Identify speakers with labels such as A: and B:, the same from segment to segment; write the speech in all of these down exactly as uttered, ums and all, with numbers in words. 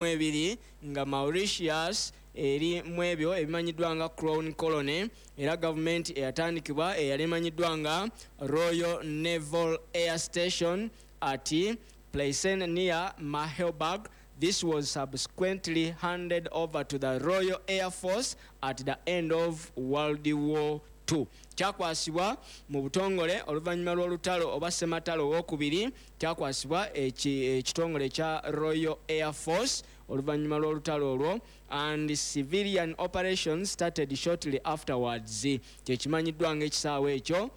A: Ebiri nga Mauritius eri mu ebyo ebimanyiddwa nga Crown Colony, era gavumenti eyatandikibwa eyali emanyiddwa nga Royal Naval Air Station at Pleasant near Mahébourg. This was subsequently handed over to the Royal Air Force at the end of World War Two. Kyakwasibwa mu butongole oluvannyuma lw'olutalo oba ssematalo owokubiri. Kyakwasibwa ekitongole ekya Royal Air Force oluvannyuma lw'olutalo olwo, and civilian operations started shortly afterwards. Kyekimanyiddwa nga ekisaawe ekyo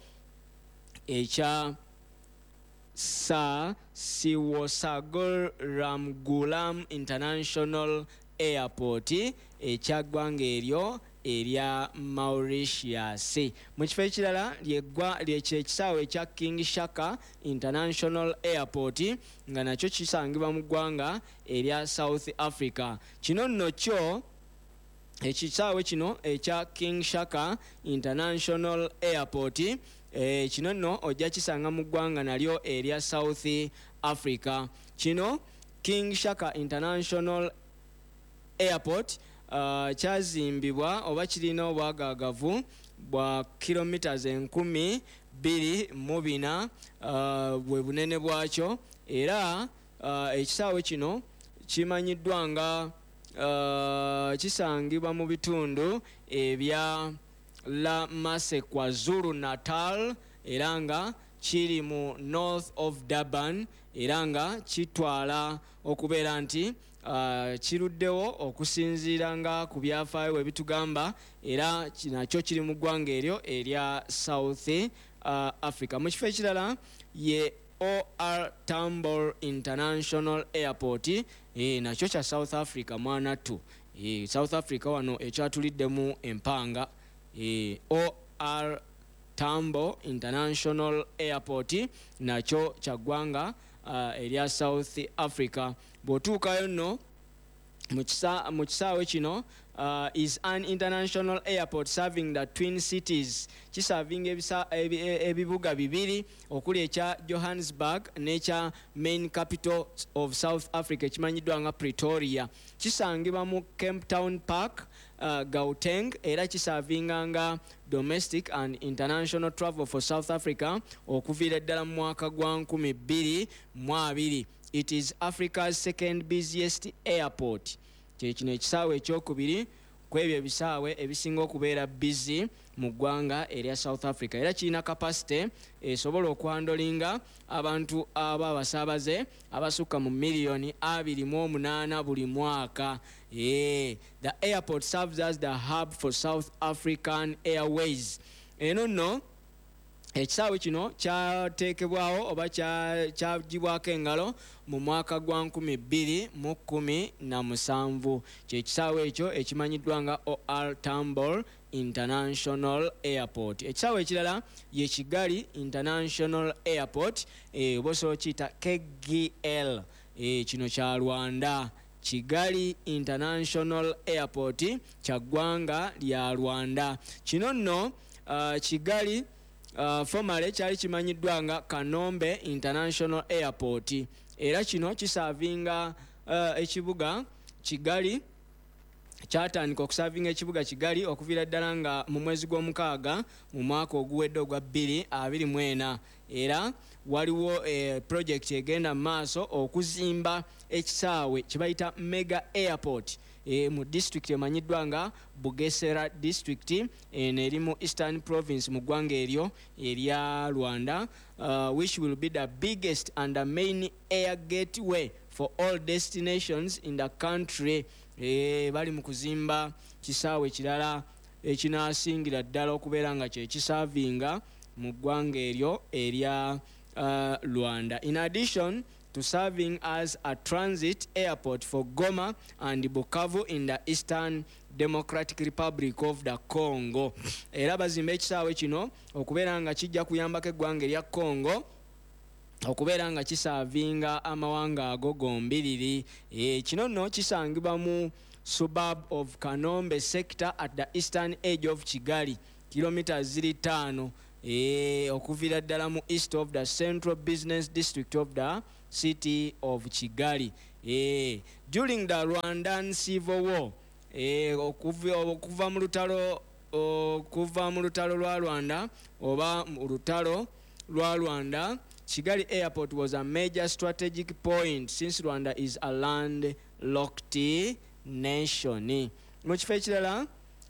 A: ekya Sir Seewoosagur Ramgoolam International Airport ekya ggwanga eryo erya Mauritius. Mu kifo ekirala lyekisaawe ekya King Shaka International Airport, nga nakyo kisangibwa mu ggwanga erya South Africa. Kino nno kyo ekisaawe kino ekya King Shaka International Airport, e, kino nno ojja kisanga mu ggwanga nalyo erya South Africa. Kino King Shaka International Airport uh, kyazimbibwa oba kirina obwagaagavu bwa kilometers enkumi bbiri mu bina uh, bwe bunene bwakyo. Era uh, ekisaawe kino kimanyiddwa nga uh, kisangibwa mu bitundu ebya La Mercy, KwaZulu Natal, era nga kiri mu north of Durban, era nga kitwala okubeera nti uh, kiruddewo okusinziira nga ku byafaayo bwe bitugamba, era nakyo kiri mu ggwanga eryo erya South uh, Africa. Mu kifo ekirala ye O R Tambo International Airport, e, nakyo kya South Africa. Mwanattu, e, South Africa wano ekyatuliddemu empanga. e, O R Tambo International Airport nakyo kya ggwanga uh, erya South Africa. Bw'otuukayo nno mu kisaawe kino, uh, is an international airport serving the twin cities. Kiservinga ebibuga bibiri okuli ekya Johannesburg n'ekya main capital of South Africa ekimanyiddwa nga Pretoria. Kisangibwa mu Kempton Park, uh, Gauteng, era kiservinga nga domestic and international travel for South Africa okuviira ddala mu mwaka gwa nkumi bbiri mu abiri. It is Africa's second busiest airport. Kyekino ekisaawe ekyokubiri ku ebyo ebisaawe ebisinga okubeera busy mu ggwanga erya South Africa, era kirina capacity esobola okuhandlinga abantu aba abasaabaze abasukka mu miliyoni abiri mu omunaana buli mwaka. E, the airport serves as the hub for South African Airways. Eno nno ekisaawe kino kyateekebwawo oba kyagibwako engalo mu mwaka gwa nkumi bbiri mu kkumi na musanvu. Kyekisaawe ekyo ekimanyiddwa nga O R Tambo International Airport. Ekisaawe ekirala ye Kigali International Airport, e, oba osobola okiyita K G L. e, kino kya Rwanda. Kigali International Airport kya ggwanga lya Rwanda. Kino nno uh, Kigali uh, formerly kyali kimanyiddwa nga Kanombe International Airport, era kino kiservinga uh, ekibuga Kigali. Kyatandika okuservinga ekibuga Kigali okuviira ddala nga mu mwezi gw'omukaaga mu mwaka oguwedde ogwa bbiri abiri mu ena, era waliwo eh, project egenda mu maaso okuzimba ekisaawe kye bayita mega airport e, mu district emanyiddwa nga Bugesera District. Eno eri mu Eastern Province mu ggwanga eryo erya Rwanda, uh, which will be the biggest and the main air gateway for all destinations in the country. e, bali mu kuzimba kisaawe kirala ekinasingira ddala okubeera nga kyekiservinga mu ggwanga eryo erya uh, Rwanda. In addition to serving as a transit airport for Goma and Bukavu in the Eastern Democratic Republic of the Congo, era bazimba ekisaawe kino okubeera nga kijja kuyambako eggwanga erya Congo okubeera nga kiservinga amawanga ago gombiriri. e, kino nno kisangibwa mu suburb of Kanombe sector at the eastern edge of Kigali, kilometers ziri ttaano. e, okuviira ddala mu east of the central business district of the city of Kigali. e, during the Rwandan Civil War, e, okuva mu lutalo okuva mu lutalo lwa Rwanda oba mu lutalo lwa Rwanda, Kigali Airport was a major strategic point since Rwanda is a landlocked nation. Mu kifo ekirala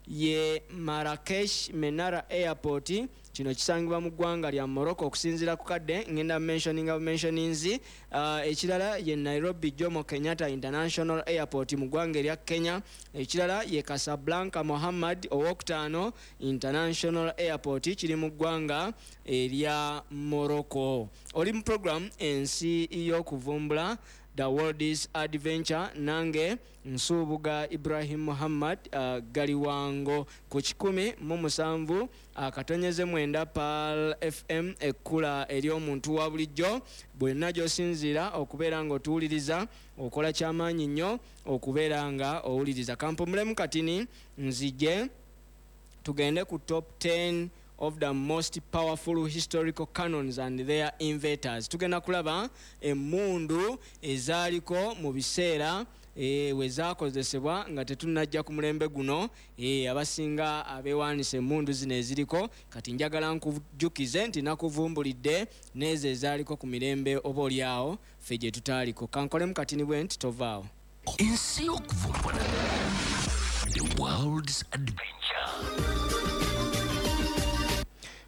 A: ye Marrakesh Menara Airport, kino kisangibwa mu ggwanga lya Morocco. Okusinziira ku kadde ngenda mentioninga mentionings. uh, ekirala ye Nairobi Jomo Kenyatta International Airport mu ggwanga erya Kenya. Ekirala ye Casablanca Mohammad owokutaano International Airport, kiri mu ggwanga erya Morocco. Oli mu program Ensi y'Okuvumbula, The World's Adventure, nange Nsubuga Ibrahim Muhammad uh, Galiwango ku kikumi mu musanvu akatonyeze mwenda Pearl F M, ekkula ery'omuntu wa bulijjo. Bwenna gy'osinziira okubeera ng'otuwuliriza, okola kyamaanyi nnyo okubeera nga owuliriza. Kampumulemu katini, nzije tugende ku top ten of the most powerful historical cannons and their inventors. Tugenda kulaba emmundu ezaaliko mu biseera e, we zakozesebwa nga tetunnajja ku mulembe guno. e, abasinga abeewaanisa emmundu zino eziriko kati, njagala nkujjukize nti nakuvumbulidde n'ezo ezaaliko ku mirembe oba oliawo ffe gye tutaaliko. Kankolemu katini bwe nti, tovaawo.
B: Ensi y'Okuvumbula, The World's Adventure.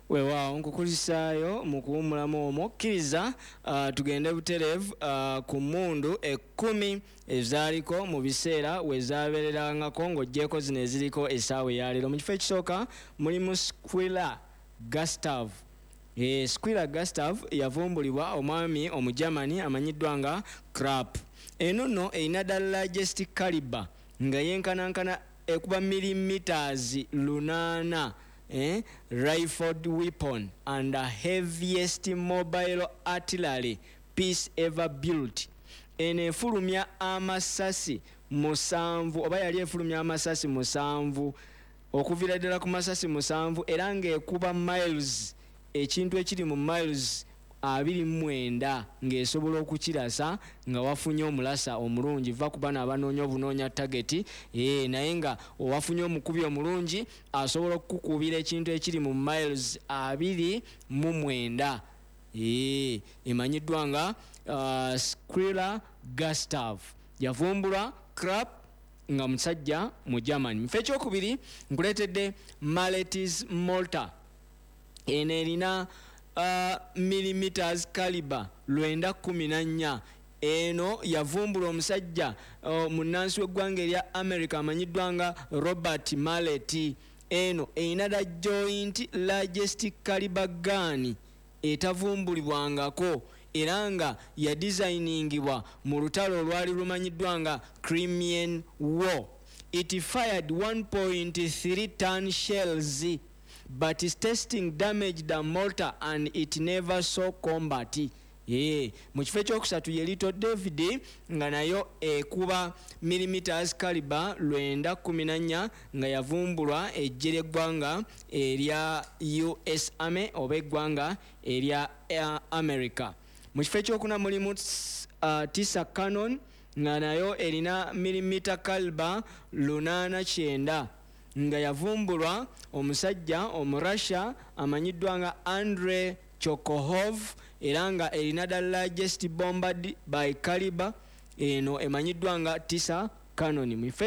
A: Weewaawo, nkukulisaayo mu kuwummulamu omwo. Kkiriza uh, tugende butereevu uh, ku mmundu ekkumi ezaaliko mu biseera we zaabeererangako, ng'oggyeko zino eziriko essaawa eyaleero. Mu kifo ekisooka mulimu Squealer Gustav. e, Squealer Gustav yavumbulibwa omwami Omugermany amanyiddwa nga Krupp. Eno nno erina the largest caliber nga yenkanankana ekuba millimeters lunaana, eh, rifled weapon and the heaviest mobile artillery piece ever built. Eno efulumya amasasi musanvu, oba yali efulumya amasasi musanvu, okuviira ddala ku masasi musanvu, era ng'ekuba miles, ekintu ekiri mu miles abiri mu mwenda ng'esobola okukirasa nga wafunye omulasa omulungi. Va ku bano abanoonya obunoonya target, ee, naye nga owafunye omukubi omulungi asobola okukukubira ekintu ekiri mu miles abiri mu mwenda. Ee, emanyiddwa nga uh, Squealer Gustav, yavumbulwa Krupp nga musajja mu Germany. Mu kifo ekyokubiri nkuleetedde Mallet's Mortar. Eno erina uh, millimeters caliber lwenda kumi na nnya. Eno yavumbula omusajja uh, munnansi w'eggwanga erya America amanyiddwa nga Robert Mallet. Eno erina the joint largest caliber gun etavumbulibwangako, era nga yadesigningibwa mu lutalo olwali lumanyiddwa nga Crimean War. It fired one point three ton shells, but testing damaged the mortar and it never saw combat. Yeah. Mu kifo ekyokusatu ye Little David, nga nayo ekuba millimeters caliber lwenda kumi na nnya, nga yavumbulwa eggye ly'eggwanga erya U S Army oba eggwanga erya America. Mu kifo ekyokuna mulimu uh, Tisa Cannon, nga nayo erina millimeter caliber lunaana kyenda, nga yavumbulwa omusajja Omurussia amanyiddwa nga Andre Chokohov, era nga erina the largest bombard by caliber. Eno emanyiddwa nga Tisa Cannon. Mu kifo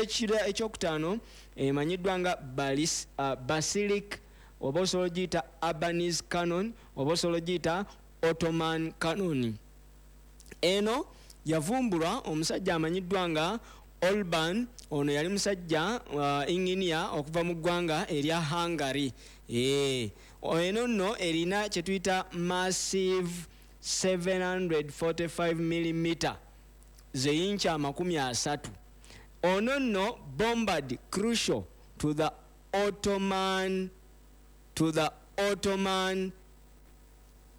A: ekyokutaano emanyiddwa nga Balis, uh, Basilic, oba osobola ogiyita Albanese Cannon, oba osobola ogiyita Ottoman Cannon. Eno yavumbulwa omusajja amanyiddwa nga Orban. Ono yali musajja uh, engineer okuva mu ggwanga erya Hungary. e, eno nno erina kyetuyita massive seven hundred forty-five millimeter, zeyinki amakumi asatu. Ono nno bombard crucial to the Ottoman to the Ottoman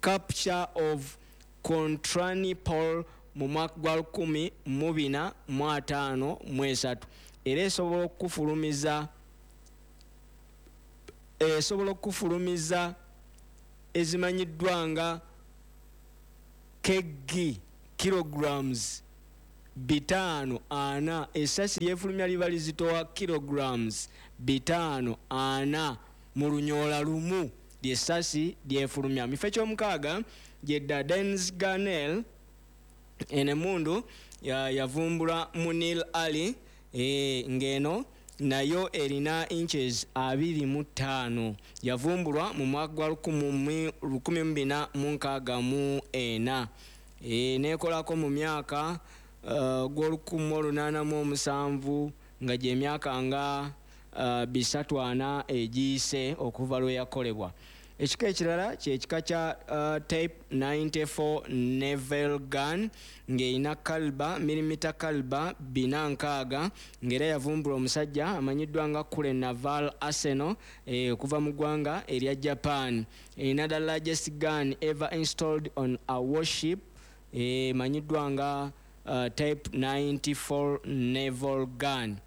A: capture of Constantinople mu mwaka gwa lukumi mu bina mu ataano mu esatu, era esobola okukufulumiza esobola okukufulumiza ezimanyiddwa nga kg kilograms bitaano ana. Essasi lyefulumya liba lizitowa kilograms bitaano ana mu lunyoola lumu lyessasi lyefulumya. Mu kifo ekyomukaaga ye Dardennes Gunnel. Eno emmundu yavumbula Munir Ali, e, ng'eno nayo erina inches abiri mu ttaano. Yavumbulwa mu mwaka gwa lukumi mu bina mu nkaaga mu ena, e, neekolako mu myaka uh, gw'olukumi mu olunaana mu omusanvu, nga gy'emyaka nga uh, bisatu ana egiyise okuva lwe yakolebwa. Ekika ekirala kyekika kya uh, Type ninety-four Naval Gun, ng'erina caliber milimita caliber bina nkaaga, ng'era yavumbula omusajja amanyiddwa nga Kure Naval Arsenal, eh, okuva mu ggwanga erya Japan. Erina the largest gun ever installed on a warship, emanyiddwa eh, nga uh, Type ninety-four Naval Gun.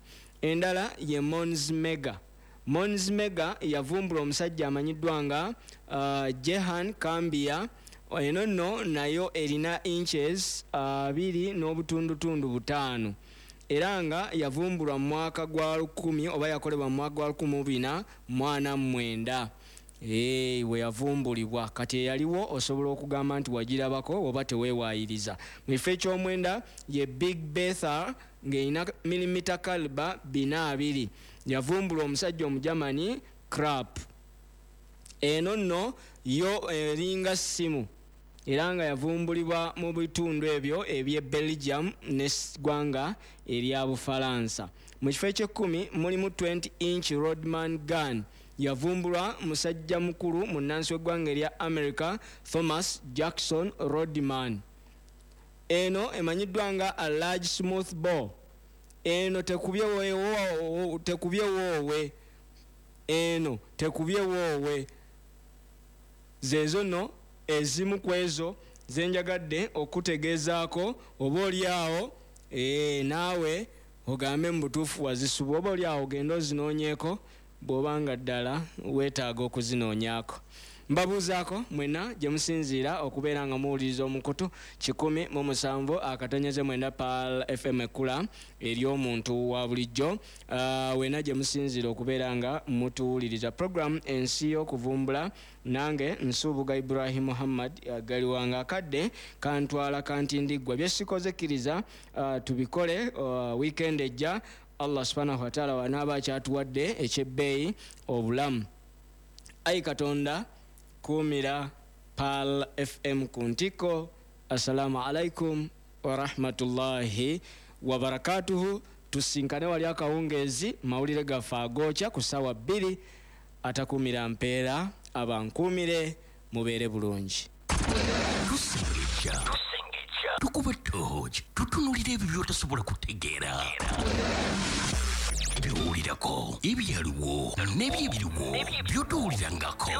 A: Endala ye Mons Mega. Mons Mega yavumbula omusajja amanyiddwa nga uh, Jehan Cambia. Eno nno nayo erina inches abiri uh, n'obutundutundu butaano, era nga yavumbulwa mu mwaka gwa lukumi oba yakolebwa mu mwaka gwa lukumi mu bina mu ana mu mwenda, e, we yavumbulibwa. Kati eyaliwo osobola okugamba nti wagirabako oba teweewaayiriza. Mu kifo ekyomwenda ye Big Bertha, ng'erina milimita caliber bina abiri, yavumbula omusajja Omujamani Crap. Eno nno yo eringa ssimu, era nga yavumbulibwa mu bitundu ebyo eby'e Belgium n'eggwanga erya Bufalansa. Mu kifo eky'ekkumi mulimu twenty inch Rodman gun, yavumbulwa musajja mukulu munnansi w'eggwanga erya America Thomas Jackson Rodman. Eno emanyiddwa nga a large smooth ball. Eno tekubye woowe, tekubye woowe, eno tekubye woowe. Zezo nno ezimu ku ezo zenjagadde okutegeezaako, oba oliawo ee, naawe ogambe mu butuufu wazisuba, oba oliawo ogenda ozinoonyeeko bw'oba nga ddala weetaaga okuzinoonyaako. Mbabuuzaako mwenna gye musinziira okubeera nga muwuliriza omukutu kikumi mu musanvu akatonyeze mwenda Pearl F M, ekkula ery'omuntu wa bulijjo. uh, wenna gye musinziira okubeera nga mutuwuliriza program Ensi y'Okuvumbula, nange Nsubuga Ibrahim Muhammad uh, Galiwanga. Akadde kantwala kantindiggwa, byesikoze kkiriza uh, tubikole uh, weekend ejja, Allah subhanahu wataala wanaaba akyatuwadde ekyebbeeyi obulamu. Ayi Katonda, kuumira Pearl F M ku ntikko. Assalamu alaikum warahmatullahi wabarakatuhu. Tusinkane wali akawungeezi, mawulire gaffe agookya ku ssaawa bbiri. Atakuumira mpeera abankuumire, mubeere bulungi.
B: Tusengejja, tukuba tooki, tutunulira ebyo by'otasobola kutegeera, byowulirako, ebyaliwo n'ebyebiriwo by'otowulirangako.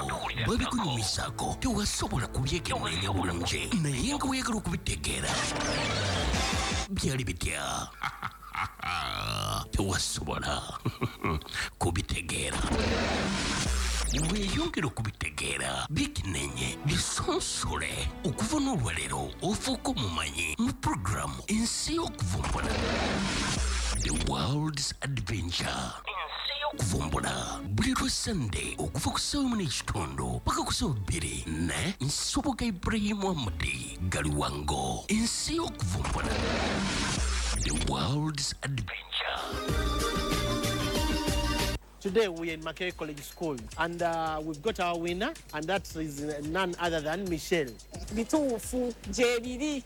B: Babikunyumizaako, tewasobola kubyekenneenya bulungi, naye nga weeyagala okubitegeera. Byali bitya? Tewasobola kubitegeera. Weeyongera okubitegeera, byekeneenye, bisonsole. Okuva n'olwaleero ofuuka omumanyi mu puroguramu Ensi y'Okuvumbula, The World's Adventure, Kuvumbula, buli lwa Sande okuva ku ssaawa emu n'ekitundu paka ku ssaawa bbiri ne Nsubuga Ibrahimu Amudi Galiwango. Ensi y'Okuvumbula, The World's Adventure.
C: Today we are in Makerere College School and uh, we've got our winner, and that is none other than Michelle.
D: Bituufu gyebiri.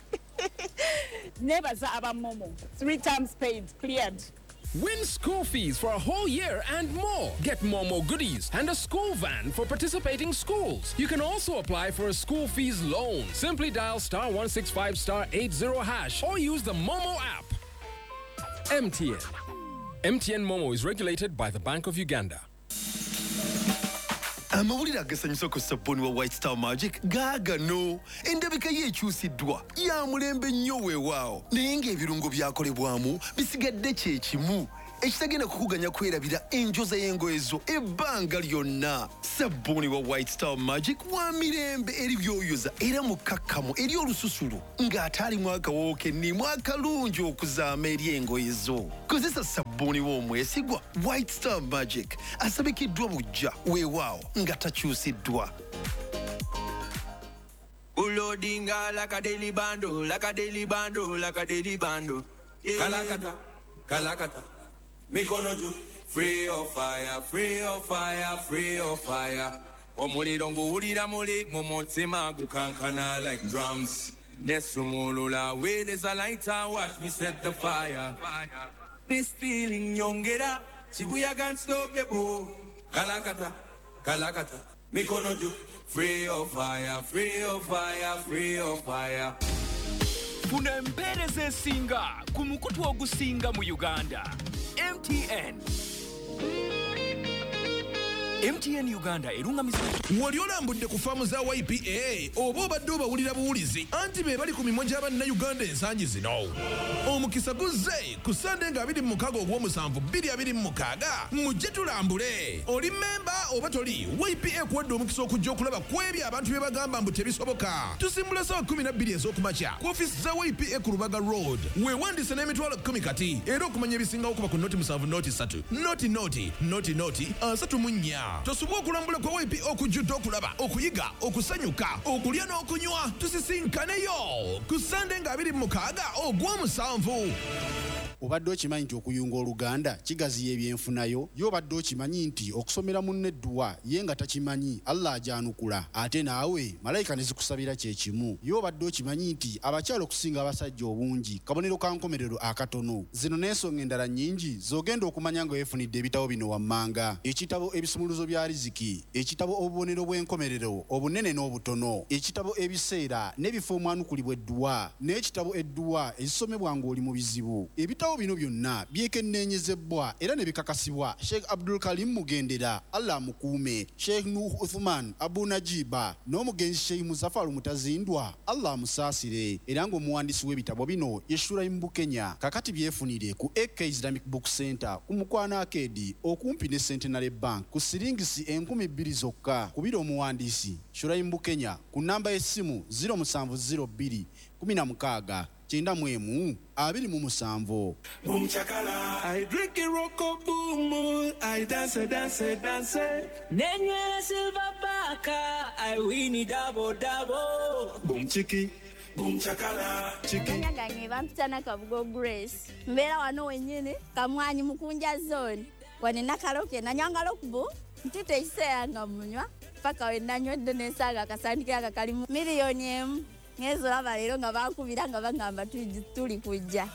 D: Nebaza aba MoMo. Three times paid, cleared.
E: Win school fees for a whole year and more. Get MoMo goodies and a school van for participating schools. You can also apply for a school fees loan. Simply dial star one six five star eighty hash or use the MoMo app. M T N. M T N MoMo is regulated by the Bank of Uganda.
F: Amawulire agasanyusa ku sabbuuni wa White Star Magic gaagano. Endabika ye ekyusiddwa, ya mulembe nnyo weewaawo, naye ng'ebirungo byakolebwamu bisigadde kye kimu. Ekitagenda kukuganya kwerabira enjoza y'engoye zo ebbanga lyonna. Sabbuuni wa White Star Magic wa mirembe eri byoyoza era mukakkamu eri olususu ng'ate alimu akawoowo kennimu akalungi okuzaama eri engoye zo. Kozesa sabbuuni w'omwesigwa White Star Magic asabikiddwa buggya weewaawo nga takyusiddwa.
G: Ulodinga like a daily bando, like a daily bando, like a daily bando. Yeah. Kalakata, kalakata, mikono juu. Free of fire, free of fire, free of fire. Omuliro nguwulira muli mu mutima gukankana like drums. Nesumulula with is a lighter, watch me set the fire. This feeling nyongera, Shibuya can't stop the boom. Kalakata, kalakata, mikono juu. Free of fire, free of fire, free of fire.
H: Funa empeereza esinga ku mukutu ogusinga mu Uganda. M T N. M T N Uganda erungamizibwa.
I: Wali olambudde ku faamu za Y P A oba obadde obawulira buwulizi anti be bali ku mimwa gy'abannayuganda ensangi zino. Omukisa guzze ku Sande nga abiri mu mukaaga ogw'omusanvu bbiri abiri mu mukaaga mujje tulambule. Oli memba oba toli, Y P A ekuwadde omukisa okujja okulaba ku ebyo abantu bye bagamba mbu tebisoboka. Tusimbula ssaawa kkumi na bbiri ez'okumakya ku ofiisi za Y P A ku Lubaga Road. Weewandiise n'emitwalo kkumi kati era okumanya ebisingawo kuba ku noti musanvu noti ssatu noti noti noti noti asatu mu nnya. Tosubwa okulambula kwa Y P A okujjudde okulaba, okuyiga, okusanyuka, okulya n'okunywa. Tusisinkaneyo ku Sande nga abiri mu mukaaga ogw'omusanvu.
J: Obadde okimanyi nti okuyunga Oluganda kigaziya ebyenfunayo? Ye obadde okimanyi nti okusomera munno edduwa ye nga takimanyi Allah agyanukula, ate naawe malayika ne zikusabira kye kimu? Ye obadde okimanyi nti abakyala okusinga abasajja obungi kabonero ka nkomerero akatono? Zino n'ensonga endala nnyingi z'ogenda okumanya nga weefunidde ebitabo bino wammanga: ekitabo Ebisumuluzo bya Riziki, ekitabo Obubonero bw'enkomerero obunene n'obutono, ekitabo Ebiseera n'ebifo omwanukulibwa edduwa, n'ekitabo Edduwa ezisomebwa ng'oli mu bizibu. Ebitabo bino byonna byekenneenyezebwa era ne bikakasibwa Sheikh Abdul Karim Mugendera, Allah amukuume, Sheikh Nuh Uthman Abu Najiba n'omugenzi Sheikh Muzafaru Mutazindwa, Allah amusaasire. Era ng'omuwandiisi w'ebitabo bino ye Shuraim Bukenya. Kakati byefunire ku A K Islamic Book Center ku Mukwano Arcade okumpi ne Centenary Bank ku siringisi enkumi bbiri zokka. Kubira omuwandiisi Shuraim Bukenya ku namba y'essimu zero musanvu zero bbiri kumi na mukaaga kyenda mu emu abiri mu musanvu.
G: Boom chakala, I drink it roko boom, I dance dance dance.
A: Nenywera silver baka, I win it double double.
G: Boom chiki, boom chakala, chiki.
K: Amanya gange bampita Nakabugo Grace. Mbeera wano wennyini Kamwanyi Mukunja zone. Wane nakaloke nanywanga lokubu ntute ekiseera nga munywa paka we nanywedde nensanga akasandikira aka kalimu miliyoni emu. Ngezo laba leero nga bankubira nga bagamba tuli kujja.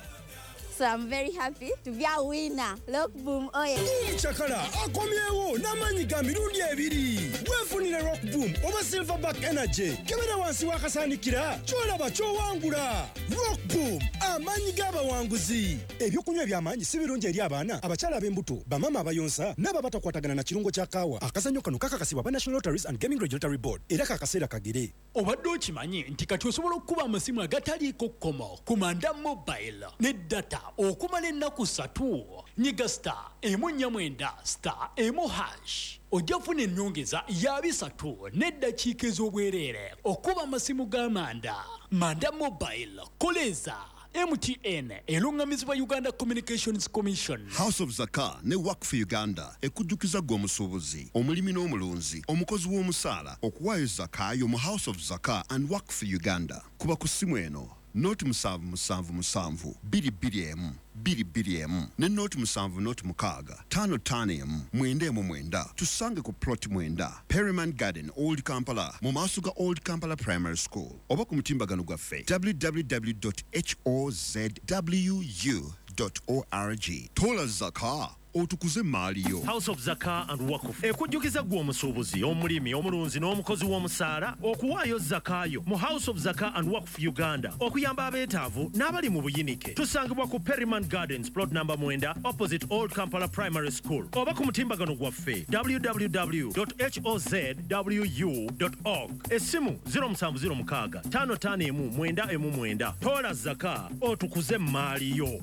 K: So I'm very happy to be a winner. Rock Boom oye.
L: Boom Chakala akomyewo n'amaanyi ga mirundi ebiri. Weefunire Rock Boom oba Silverback Energy. Kebera wansi w'akasaanikira ky'olaba ky'owangula. Rock Boom, amaanyi g'abawanguzi. Ebyokunywa eby'amaanyi si birungi eri abaana, abakyala ab'embuto, bamaama abayonsa n'abo abatakwatagana na kirungo kya kaawa. Akazannyo kano kakakasibwa aba National Lotteries and Gaming Regulatory Board era kakaseera kagere.
H: Obadde okimanyi nti kati osobola okukuba amasimu agataliiko kkomo ku Manda Mobile ne data okumala ennaku ssatu? Nyiga star emu nnya mwenda star emu hash ojja kufuna ennyongeza ya bisatu n'eddakiika ez'obwereere okuba amasimu ga Manda. Manda Mobile koleza. M T N erungamizibwa Uganda Communications Commission.
M: House of Zaka ne Work for Uganda ekujjukiza gwe omusuubuzi, omulimi n'omulunzi, omukozi w'omusaala okuwaayo zaka yo mu House of Zaka and Work for Uganda. Kuba ku ssimu eno noti musanvu musanvu musanvu bbiri bbiri emu bbiri bbiri emu ne noti musanvu noti mukaaga ttaano ttaano emu mwenda emu mwenda. Tusange ku plot mwenda Perryman Garden Old Kampala mu maaso ga Old Kampala Primary School oba ku mutimbagano gwaffe w w w dot h o z w u dot org. Tola zaka otukuze maali yo.
N: House of Zaka and Wakuf ekujjukiza gwe omusuubuzi, omulimi, omulunzi n'omukozi w'omusaala okuwaayo zakayo mu House of Zaka and Wakuf Uganda okuyamba abeetaavu n'abali mu buyinike. Tusangibwa ku Perryman Gardens plot number mwenda opposite Old Kampala Primary School oba ku mutimbagano gwaffe w w w dot h o z w u dot org. Essimu zero musanvu zero mukaaga ttaano ttaano emu mwenda emu mwenda. Tola zaka otukuze maali yo.